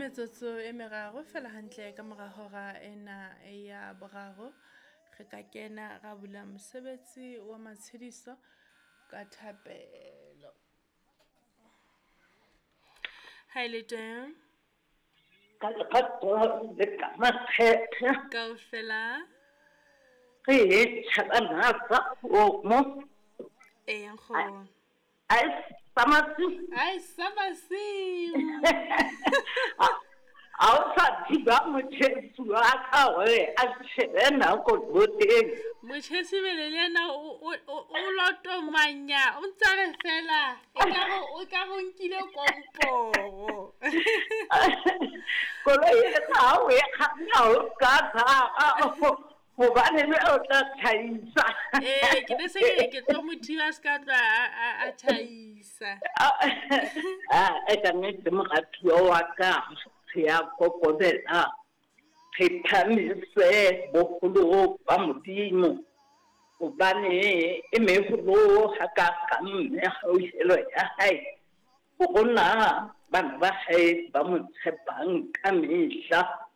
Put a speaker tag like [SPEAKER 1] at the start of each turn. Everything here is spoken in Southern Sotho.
[SPEAKER 1] Metsotso e meraro fela hantle ka mora hora ena ya boraro, re ka kena ra bula mosebetsi wa matshediso ka thapelo. Ha e le teng
[SPEAKER 2] Ka lerato le ka makgethe.
[SPEAKER 1] Kaofela.
[SPEAKER 2] Re e tjhabana sa kgomo.
[SPEAKER 1] Ee, nkgono.
[SPEAKER 2] Ai sa masiu.
[SPEAKER 1] Ai sa masiu.
[SPEAKER 2] Ha o sa thiba motjhesi wa ka hore a shebe nako boteng.
[SPEAKER 1] Motjhesi bele le yena o lotomanya, o ntsa re fela o ka re o nkile komporo.
[SPEAKER 2] Koloi e ha o e kganna o ka tshaba hobane le o tla tjhaisa.
[SPEAKER 1] Ee, ke ne se ke tlo mo thiba se ka tloha a tjhaisa.
[SPEAKER 2] Ah, e ka nnete moratuwa wa ka, re ya kokobela, re phamise boholo ba Modimo, hobane e meholo hakakang mehauhelo ya hae ho rona bana ba hae ba mo tshepang ka mehla.